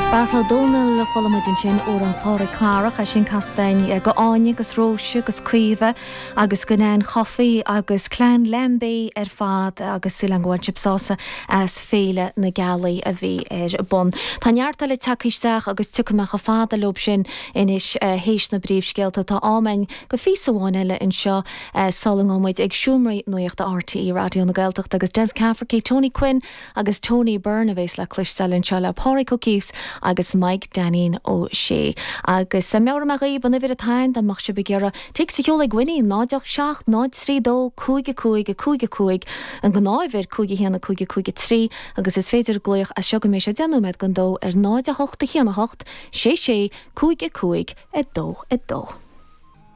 Beartla Ó Domhnaill a chuala muid ansin, amhrán Phádraig Carrach, é sin casta againn go Áine agus Róise agus Caoimhe agus go Nan Chofaigh agus clann Lambey ar fad agus súil agam go bhain sibh sásamh as Féile na Gealaí a bhí ar bun. Tá neart eile tagtha isteach agus tiocfaidh mé chomh fada leob sin anois théis na bpríomhscéalta. Tá am againn go phíosa amháin eile anseo sula ngabhfaidh muid ag seomraí nuachta RTÉ Raidió na Gaeltachta agus Des Cafferkey, Tony Quinn agus Tony Byrne a bhéas le cloisteáil anseo le Pádraig Ó Cíos agus Mike Dainín Ó Sé. Agus meabhróidh mé dhaoibh an uimhir atá ann dá mbeadh sibh ag iarraidh téacs a sheoladh ag Winnie, 0 8 7 0 3 2 5 5 5 5, an gnáthuimhir 5 1 5 5 3 agus is féidir glaoch as seo go mbeidh sé 10 nóiméad don dó ar 0 8 1 8 6 6 5 5 2 2.